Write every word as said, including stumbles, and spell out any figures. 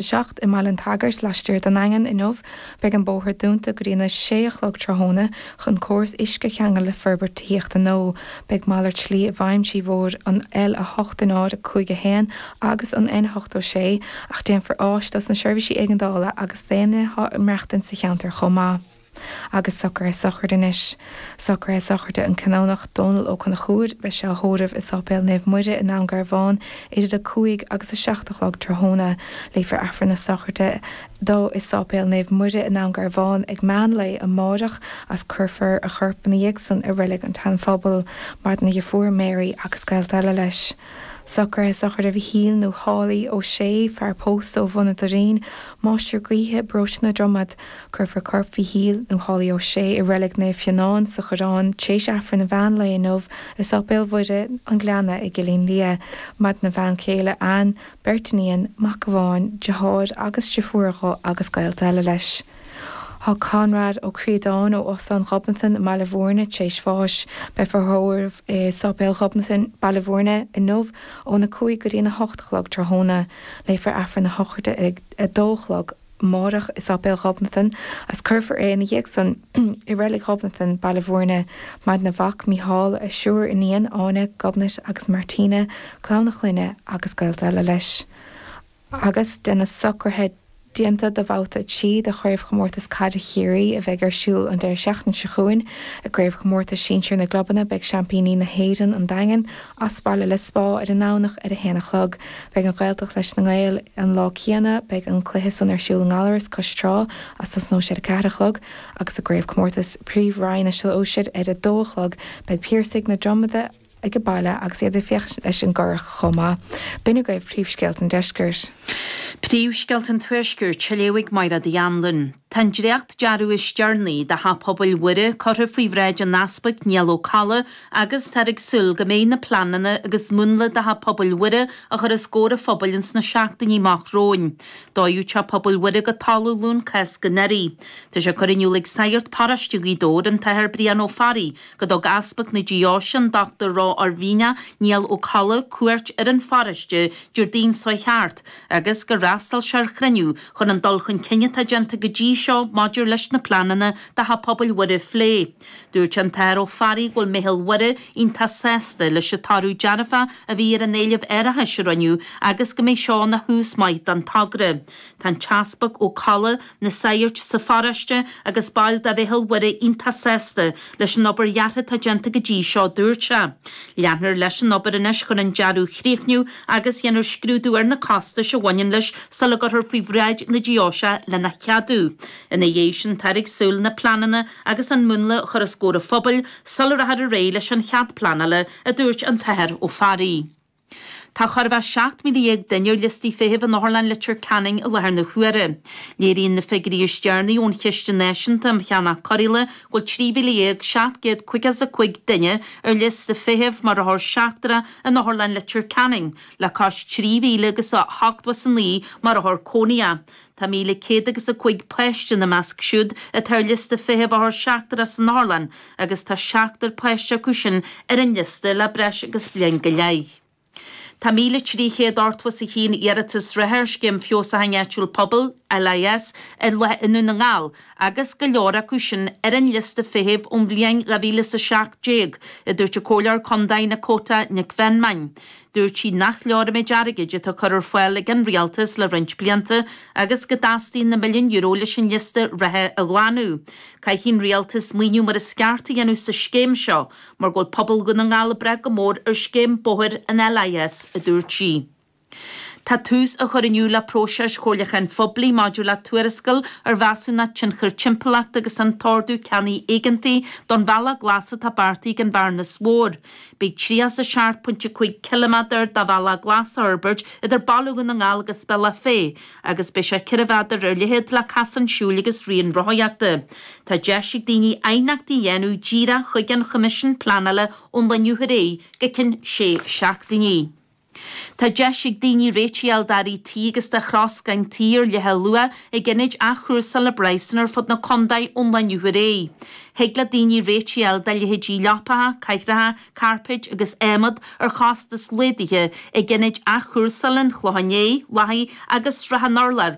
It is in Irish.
a seacht i mBaile an tSagairt laistiar den nDaingean inniu. Beidh an bóthar dúnta go dtí na sé a chlog tráthnóna chun córas uisce a cheangal le forbairt tithíochta nua. Beidh malairt slí i bhfeidhm trí bhóthar an L a hocht náid a cúig a haon agus an N ochtó sé ach déanfar áis dos na seirbhísí éigeandála agus d'aon duine atá ag maireachtaint sa cheantar chomh maith. Agus socruithe sochraide anois. Socruithe sochraide an Canónach Dónal Ó Conchúir, beidh sé á thórramh i Sáipéal Naomh Muire i nDún Garbhán idir a cúig agus a seacht a chlog tráthnóna. Léifear Aifreann na sochraide dó i Sáipéal Naomh Muire i nDún Garbhán ag meán lae amárach agus cuirfear a chorp ina dhiaidh san i Reilig an tSeanphobail. Maireann a dheirfiúr Mary agus gaolta eile leis. Socruithe sochraide Mhichíl nó Sháilí Ó Sé, fear pósta ó Bhun an Doirín, máistir gaoithe, Paróiste na Dromad. Cuirfear corp Mhichíl nó Sháilí Ó Sé i Reilig Naomh Fionán sa Choireán tar éis Aifreann an mheán lae inniu i Sáipéal Mhuire an Ghleanna i gCillín Liath. Maireann a bhean chéile Ann, beirt iníon, mac amháin, deartháir agus deirfiúr dhó agus gaolta eile leis. Tá Conrad Ó Críodáin ó Óstán Ghobnatan i mBaile Bhúirne tar éis bháis. Beifear á thórramh i Sáipéal Ghobnatan, Baile Bhúirne inniu óna cúig go dtí a hocht a chlog tráthnóna. Léifear Aifreann na sochraide ag a dó a chlog amárach i Sáipéal Ghobnatan agus cuirfear é ina dhiaidh san i Reilig Ghobnatan, Baile Bhúirne. Maireann a mhac Mícheál, a thriúr iníon, Áine, Gobnait agus Martina, clann a chlainne agus gaolta eile leis. Agus de na socruithe déanta do bhabhta a trí de chraobhchomórtas caide Chiarraí a bheidh ar siúl an deireadh seachtaine seo chugainn. I gcraobhchomórtas sinsir na gclubanna beidh seaimpíní na hÉireann an Daingean as baile le Spá ar an nDomhnach ar a haon a chlog. Beidh an Ghaeltacht leis na Gaeil an lá céanna, beidh an cluiche san ar siúl i nGallaras cois trá agus tosnóidh sé ar a ceathair a chlog agus i gcraobhchomórtas Príomh-Roinn na Sóisear ar a dó a chlog beidh Piarsaigh na Dromada ag baile agus iad ag féachaint leis an gCurrach chomh maith. B'in agaibh príomhscéalta an deiscirt. Príomhscéalta an Tuaiscirt, á léamh ag Máire Uí Anluain. Tá an dréacht-dearadh is deireanaí do Theach Pobail Mhuire curtha faoi bhráid an Easpaig Niall Ó Colla agus táthar ag súil go mbeidh na pleananna agus múnla do Theach Pobail Mhuire á chur os comhair an phobail ins na seachtainí amach romhainn. Dódh Teach Pobail Mhuire go talamh Luan Cásca anuraidh. Tá sé curtha in iúl ag Sagart Paróiste Ghaoth Dobhair, an tAthair Brian Ó Fearraigh, go dtug Easpag na Deoise, an Dochtúir Ró-Oirmhinneach Niall Ó Colla, cuairt ar an pharóiste Déardaoin seo chuaigh thart agus gur fhreastail sé ar chruinniú chun an dul chun cinn atá déanta go dtí seo maidir leis na pleananna do Theach Pobail Mhuire a phlé. Dúirt an tAthair Ó Fearraigh go bhfuil Meitheal Mhuire iontach sásta leis an toradh dearfach a bhí ar an éileamh árachais a rinneadh agus go mbeidh seo ina thús maith don togra. Tá an tEaspag Ó Colla, na sagairt sa pharóiste agus baill de Mheitheal Mhuire iontach sásta leis an obair dheartha atá déanta go dtí seo, dúirt sé. Leanfar leis an obair anois chun an dearadh a chríochnú agus dhéanfar scrúdú ar na costais a bhaineann leis sula gcuirfear faoi bhráid na deoise lena cheadú. Ina dhiaidh sin táthar ag súil na pleananna agus an múnla a chur os comhair an phobail sula rachfar ar aghaidh leis an chead pleanála, a dúirt an tAthair Ó Fearraigh. Tá chóir a bheith seacht míle dhéag duine ar liostaí feithimh in Otharlann Leitir Ceanainn i láthair na huaire. Léiríonn na figiúirí is deireanaí ón Chiste Náisiúnta um Cheannach Cóireála go bhfuil trí mhíle dhéag seacht gcéad caoga is a cúig duine ar liosta feithimh mar othar seachtrach in Otharlann Leitir Ceanainn, le cois trí mhíle agus a hochtó is a naoi mar othar cónaitheach. Tá míle céad agus a cúig páiste ina measc siúd atá ar liosta feithimh othar seachtrach san otharlann agus tá seachtar páiste acu sin ar an liosta le breis agus bliain go leith. Tá míle trí chéad ochtó is a haon iarratas reatha ar Scéim Feabhsúcháin Áitiúil Pobail, LIS, i nDún na nGall agus go leor acu sin ar an liosta feithimh ón bhliain dhá mhíle is a seacht déag, a dúirt an Comhairleoir Contae Nakota Nic Mheanman. Dúirt sí nach leor an méid airgid atá curtha ar fáil ag an Rialtas le roinnt blianta agus go dteastaíonn na milliúin euro leis an liosta reatha a ghlanadh. Caithfidh an Rialtas maoiniú mar is ceart a dhéanamh sa scéim seo mar go bhfuil pobal Dhún na nGall ag brath go mór ar scéim bóthair an LIS, a dúirt sí. Tá tús á chur inniu le próiseas chomhairliúcháin phoiblí maidir le tuarascáil ar mheasúnacht tionchair timpeallachta agus an t-ordú ceannaigh éigeantaigh don Bhealach Glas atá beartaithe ag an Bhearnas Mhór. Beidh tríocha is a seacht pointe cúig ciliméadar de Bhealach Glas á fhorbairt idir Baile Dhún na nGall agus Bealach Féich agus beidh sé ceithre mhéadar ar leithead le casáin siúil agus rian rothaíochta. Tá deis ag daoine aighneachtaí a dhéanamh díreach chuig an Choimisiún Pleanála ón lá inniu ar aghaidh go ceann sé seachtainí. Tá deis ag daoine réitigh a fháil d'earraí tí agus de throscán tí ar leibhéal luath ag ionaid athchúrsála i bpraghsanna ar fud na contae ón lá inniu ar aghaidh. Thig le daoine réitigh a fháil do leithéidí leapacha, cathracha, cairpéid agus adhmad ar chostas laghdaithe ag ionaid athchúrsála an Chlocháin Léith, Lathaí agus Srath an Urláir